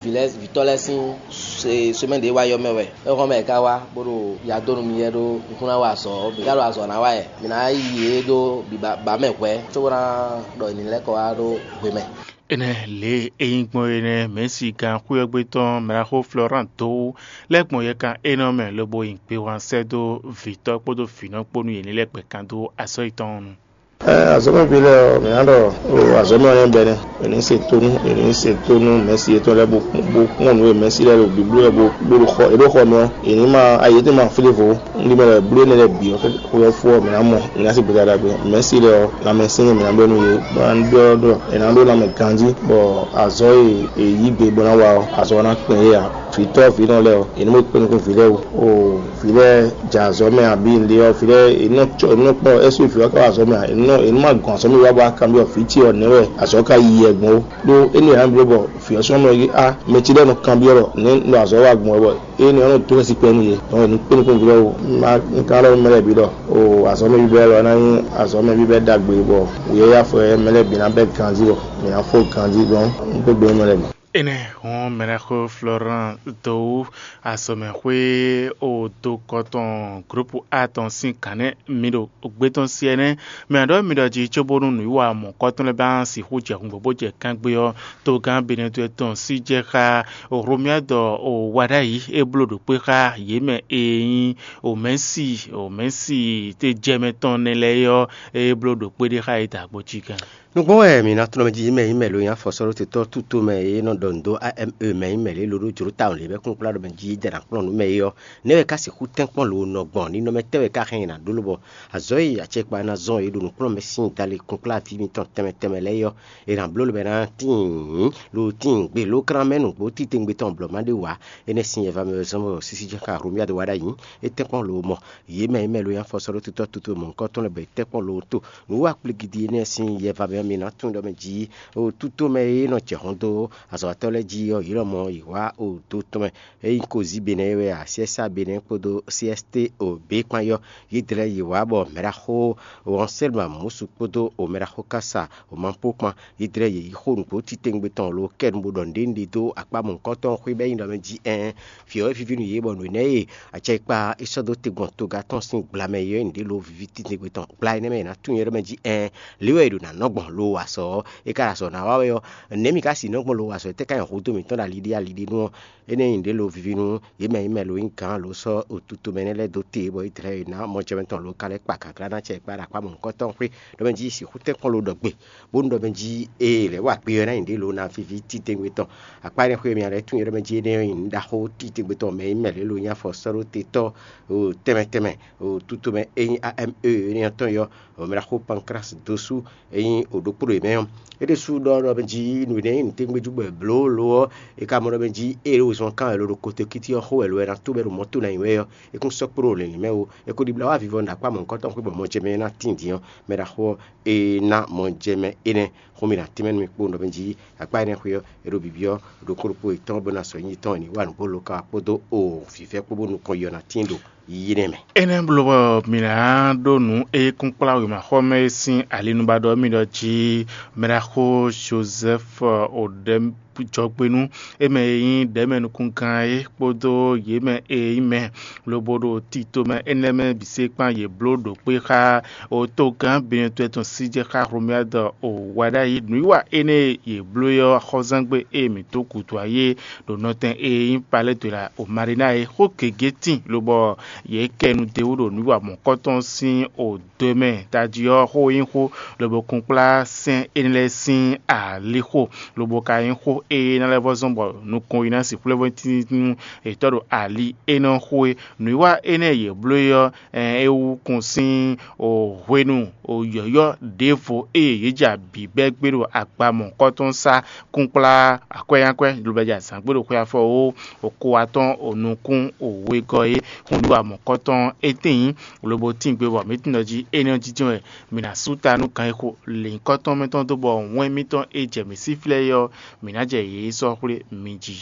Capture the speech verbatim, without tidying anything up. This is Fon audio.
Vǐ lɛ́ɛ vǐtɔ́ lɛ́ɛ sín semɛ́ ɖě wá yɔ mɛ wɛ. É hɔn mɛ è ká wá bó ɖo ya dó nú mì yɛ ɖó nukúnná wa azɔ̌ ɔ́, mǐ ka ɖo azɔ̌ ná wa wɛ. Mǐ ná yi yě ɖó biba ba mɛ hwɛ̌ cóbó ná ɖɔ è nǐ lɛ́ kɔ wá ɖó hwemɛ. Énɛ́ lě e é nyí gbɔn é nɛ́, mɛ̌si gán xwé ɔ́ gbe tɔn mɛɖaxó Florán dó wú lɛ́ gbɔn yɛkan énɛ́ ɔ́ mɛ lobo nyi gbewán sɛ́ dó vǐtɔ́ kpódó vǐnɔ kpó nú yě ní lɛ́ gbɛ kan dó azɔ̌ yětɔn ɔ́ nu. Azɔ̌mɛví lɛ́ɛ ɔ́, mǐ ná ɖɔ o azɔ̌mɛ ɔ́ nyɔ́ bɛnɛ. È nǐ se tónú, è nǐ se tónú mɛ̌si yětɔn lɛ́ɛ bó bó kpɔ́n nǔ e mɛ̌si lɛ́ɛ ɖo blíbló wɛ bó bó ɖo xɔ, è ɖó xɔ mɛ ɔ́, è nǐ ma ayi yětɔn ma flé vo. Un ɖi mɛ lɛ́ɛ bló énɛ́ lɛ́ɛ bǐ ɔ́, xwe ɔ́ fó ɔ́, mǐ ná mɔ, mǐ ná sí gbeta ɖagbe. Mɛ̌si lɛ́ɛ ɔ́, lanmɛsyɛ́nyin mǐ ná bɛ́ nú yě, bó ná ɖɔ ɖɔ è nǎ ɖó lanmɛ ganjí, bɔ azɔ̌ e è yǐ gbe bó ná wa ɔ́, azɔ̌ ɔ́ ná kpɛn yě ǎ. Vǐtɔ́ vǐnɔ lɛ́ɛ ɔ́, è nǐ mɔ kpé nukún vǐ lɛ́ɛ wú. O vǐ lɛ́ɛ jɛ azɔ̌ mɛ abǐ nǔɖé ɔ́, vǐ lɛ́ɛ è nɔ cɔ è nɔ kpɔ́n ɛ sú vǐ ɔ́ ká wá azɔ̌ mɛ ǎ, è nɔ è nɔ ma gɔn azɔ̌ mɛ wá bó wá kanbyɔ́ vǐ ce ɔ́ nɛ̌ wɛ azɔ̌ ka yi yɛ gbɔn ó. Ɖó énɛ́ ǎ bló bɔ vǐ ɔ́ sɔ́ mɔ é á mɛ ce lɛ́ɛ nɔ kanbyɔ́ ɖɔ nɛ̌ nɔ azɔ̌ wá gbɔn wɛ bɔ énɛ́ ɔ́ nɔ dó xɛsi kpɛ nú yě. Dɔn è nǐ kpé nukún vǐ lɛ́ɛ wú. Má un ka ɖɔ mɛ lɛ́ɛ bǐ ɖɔ o azɔ̌ mɛ bíbɛ́ lɔ ná nyí azɔ̌ mɛ bíbɛ́ ɖagbe bɔ wǔyɛ́yá fɔ mɛ lɛ́ɛ bǐ ná bɛ́ ganjí bɔ mǐ ná fó ganjí dɔn un kpé gbe mɛ lɛ́ɛ bǐ. Énɛ́ hɔn mɛɖaxó Florán dó wú azɔ̌mɛxwé o do kɔtɔn glǔpu A tɔn sín gǎn nɛ́ mi ɖo gbé tɔn sí ɛnɛ́. Mɛ ǎ ɖɔ mi ɖɔ jí cóbónú nǔwiwa mɔ̌kɔ́tɔn lɛ́ɛ ba sixú jɛ hǔngbɔ́ bó jɛ kángbé ɔ́, togán Benɛtɔ́ tɔn sí jɛ xá Hlomyád o wa ɖ'ayǐ é bló ɖo kpé xá yě mɛ e nyí Omɛ̌si Omɛ̌si te jɛ mɛ tɔn nɛ́ lɛ́ɛ é ɔ́, é bló ɖo kpé ɖé xá yě da agbo cí gán. Nǔgbó wɛ mǐ ná tlɔ́n mɛ jí mɛ nyí mɛ lo nyí afɔsɔ́ɖótetɔ́ tútomɛ e nɔ ɖɔ nǔ dó A M E mɛ nyí mɛ lě ló ɖó jlǒ tawun lě bɛ́ kúnkplá ɖɔ mɛ jí jɛ nǎ kplɔ́n nǔ mɛ é ɔ́, nɛ̌ wɛ ka sixú tɛ́nkpɔ́n lo nɔ gbɔn? Ninɔmɛ tɛ́ wɛ ka hɛn è nǎ ɖó lobɔ azɔ̌ e acɛkpa ná zɔn è ɖo nǔkplɔ́nmɛ sín dali kúnkplá ví mitɔn tɛnmɛ tɛnmɛ lɛ́ɛ é ɔ́, è nǎ bló lobɛ ná tíin lo tíin gbe ló klán mɛ nǔgbó titewungbe tɔn blɔ̌ ma ɖé wǎ. Énɛ́ sín yɛva mɛ wɛ zɔ́n bɔ sísí jɛ́n xá Hlomyád wa ɖ'ayǐ. É tɛ́nkpɔ́n lo mɔ yě mɛ e mɛ lo nyí afɔsɔ́ɖótetɔ́ tútomɛ mɔ̌hunkɔtɔn lɛ́ɛ bɔ è tɛ́nkpɔ́n lo tó. Nǔ wa kplígídí énɛ́ sín yɛva mɛ ɔ́, mi ná tunwun ɖɔ mɛ jí o tútomɛ e nɔ jɛ hɔn dó azɔ̌watɔ́ lɛ́ɛ jí ɔ́, yě lɔmɔ̌ yě wá o do tɔn mɛ. É nyí Kozíbenɛ́ é wɛ a, Syɛ́sá Benɛ́ kpódó C S T o B kpán yɔ́. Yědɛɛ lɛ́ɛ yě wá bɔ mɛɖaxó Wɔnsɛ́lma Mǔsu kpódó o mɛɖaxó Kása o Mapó kpán. Yědɛɛ lɛ́ɛ yě yi xó nǔgbó titewungbe tɔn lo kɛ nu bó ɖɔ nǔɖé nǔɖé dó akpá mɔ̌hunkɔtɔn xwé bɔ é nyí ɖɔ mɛ jí ɛɛn. Vǐ ɔ́ é víví nú yě bɔ nǔ énɛ́ e acɛkpa é sɔ́ dó te gbɔn toga tɔn sín gbla mɛ é ɔ́ nyí nǔɖé lo víví titewungbe tɔn. Gbla énɛ́ mɛ è nǎ tunwun nyɛ ɖɔ mɛ jí ɛɛn. Lě wɛ è ɖo nǎ nɔ gbɔn lo wa sɔ ɔ́, é ka ɖo azɔ̌ ná wa wɛ ɔ́, nɛ̌ mi ka sixú nɔ gbɔn lo wa sɔ? Étɛ́ ka nyí hǔ dó mǐtɔn ɖo ali ɖé ali ɖé nu ɔ́? Énɛ́ nyí nǔɖé lo víví nú yě mɛ nyí mɛ lo nyí gǎn lo sɔ́ otutomɛ énɛ́ lɛ́ɛ dó te bɔ Izlayɛ́li ná mɔjɛmɛ tɔn lo ka lɛ́ kpa gǎglá ná acɛ kpa ɖo akpá mɔ̌hunkɔtɔn xwé ɖɔ mɛ jí sixú tɛ́nkpɔ́n lo ɖɔ gbe, bónú ɖɔ mɛ jí ée lɛ̌ wa kpe ɔ́ ná nyí ɖě lo ná víví titewungbe tɔn. Akpá énɛ́ xwé mɛ lɛ́ tunwun ɖɔ mɛ jí énɛ́ nyí nǔ ɖaxó titewungbe tɔn mɛ nyí mɛ lě lo nyí afɔsɔ́ɖótetɔ́ tɛnmɛ tɛnmɛ, tutomɛ e nyí A M E énɛ́ ɔ́ tɔn yɔ, mɛɖaxó Pankrási dó sú e nyí o ɖokpó ɖo yě mɛ ɔ́. É ɖésú ɖɔ ɖɔ mɛ jí nǔ énɛ́ nyí nǔtɛ́ngbéjú bɔ è blǒ lo ɔ́, è ka mɔ ɖɔ mɛ jí ée ɖo zɔn kán wɛ lo ɖo kotokíti ɔ́ xo wɛ lo wɛ ná tó bɔ é ɖo mɔ̌ to ná nyi wɛ ɔ́, é kún sɔ́ kpo ɖo lǐnlín mɛ ó. È ko ɖibla wá vivɔ ɖo akpá mɔ̌hunkɔtɔn xwé bɔ mɔjɛmɛ ná tíin din ɔ́, mɛɖaxó ɔ́, é ná mɔjɛmɛ énɛ́ xó mì ɖo atínmɛ nú mì kpowun ɖɔ mɛ jí akpá énɛ́ xwé ɔ́, è ɖo bǐbí ɔ́ ɖokpó ɖokpó yětɔn bó ná sɔ́ nyi yětɔn è nǐ wa nǔ bó lo ka wá kpódó o vǐvɛ́ kpó bónú kɔn yɔ ná tíin ɖo yí nɛ́ mɛ. Énɛ́ bló bɔ mǐ ná ɖó nǔ e kún kplá wěmaxɔmɛ e sín alinúbadɔ ɔ́ mì ɖɔ jí mɛɖaxó Jozɛ́fu Odɛ́ jɔgbénu, é mɛ e nyí ɖɛ̌mɛnukúngán é kpódó yě mɛ e nyí mɛ lobo ɖo tito mɛ énɛ́ mɛ bǐ se kpán yě bló ɖo kpé xá otogán Benɛtɔ́ tɔn sí jɛ xá Hlomyád o wa ɖ'ayǐ. Nǔwiwa énɛ́ e yě bló é ɔ́, axɔ́zángbé e mǐ dó gǔdo ayé ɖo nɔtɛn e nyí Palɛ́dwela o Marína é, xó gěgé tíin lobɔ yě kɛ nu d'é wú ɖo nǔwiwa mɔ̌kɔtɔn sín o do e mɛ tají ɔ́ xó nyí xó, lobo kún kplá sɛ́n énɛ́ lɛ́ɛ sín alixo, lobo ka nyí xó e ná lɛ́ vɔ́ zɔ́n bɔ nukɔn yi ná sixú lɛ́ vɔ́ tíntíntín nú yětɔn ɖo ali énɛ́ ɔ́ xó é. Nǔwiwa énɛ́ e yě bló é ɔ́, é wú kún sín hwenu yɔ̌yɔ́ ɖěvo e yě jɛ abǐ bɛ́ gbé ɖo agba mɔ̌hunkɔtɔn sá kún kplá akwɛ́nyakwɛ́, lobo jɛ azǎn gbé ɖo xwe afɔ ó, o ko atɔ́n o nukún o wegɔ́ é. Xó nǔwiwa mɔ̌kɔtɔn étɛ́n nyí, lobo tín gbe bɔ mǐ tunwun ɖɔ jí énɛ́ ɔ́ jínjɔ́n wɛ mǐ ná sú ta nú gǎn e xo lěnyíkɔ́tɔn mɛtɔn dó bɔ wɛn mǐtɔn e jɛ mǐ sí flɛ́ é ɔ́, mǐ ná jɛ yě sɔ́ xwlé mi jí.